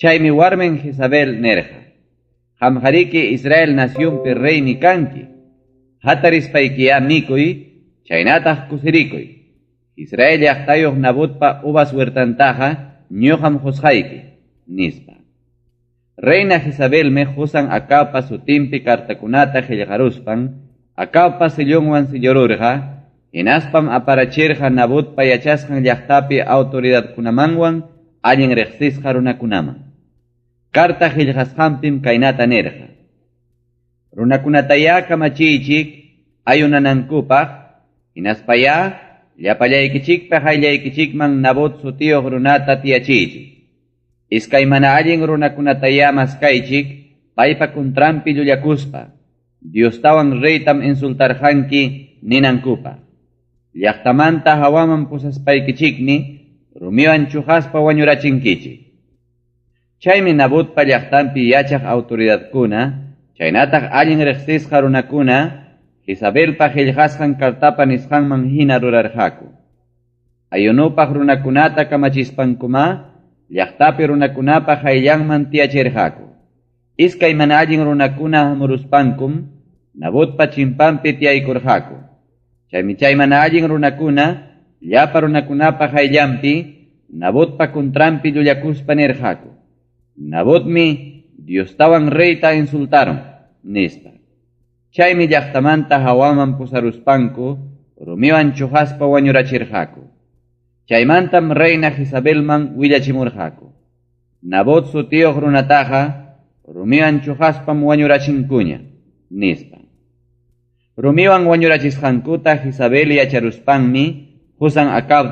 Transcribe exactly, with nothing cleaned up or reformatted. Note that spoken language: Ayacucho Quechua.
Chaymi warmin Jezabel nirqa: Qamqariki Israel nacionpi reymi kanki. Hatarispaykiyá mikuy, chaynataq kusirikuy. Israel llaqtayuq Nabotpa uvas huertantaqa ñuqam qusqayki, nispa. Reina Jezabelmi qusan Acabpa sutinpi cartakunata qillqaruspan Acabpa sellonwan sellururqa, hinaspam aparachirqa Nabotpa yachasqan llaqtapi autoridadkunamanwan allin riqsisqa runakunaman. Carta qillqasqanpim kaynata nirqa: Runakunatayá kamachiychik ayunanankupaq, hinaspayá llapallaykichikpa qayllaykichikman Nabot sutiyuq runata tiyachiychik. Iskay mana allin runakunatayá maskaychik paypa kuntranpi llullakuspa, Diostawan reytam insultarqanki ninankupaq. Llaqtamanta hawaman pusaspaykichikmi rumiwan chuqaspa wañurachinkichik. Chaymi Nabotpa llaqtanpi yachaq autoridadkuna, chaynataq allin riqsisqa runakuna, Jezabelpa qillqasqan cartapa nisqanman hina rurarqaku. Ayunupaq runakunata kamachispankuma, llaqtapi runakunapa qayllanman tiyachirqaku. Iskay mana allin runakuna hamuruspankum, Nabotpa chimpanpi tiyaykurqaku. Chaymi chay mana allin runakuna, llapa runakunapa qayllanpi, Nabotpa kuntranpi llullakuspa nirqaku: Nabotmi Diostawan reyta insultaron, nispa. Chaymi llaqtamanta hawaman pusaruspanku, rumiwan chuqaspa wañurachirqaku. Chaymantam reina Jezabelman willachimurqaku: Nabot sutiyuq runataqa rumiwan chuqaspam wañurachinkuña, nispa. Rumiwan wañurachisqankuta Jezabel yacharuspanmi qusan Acabta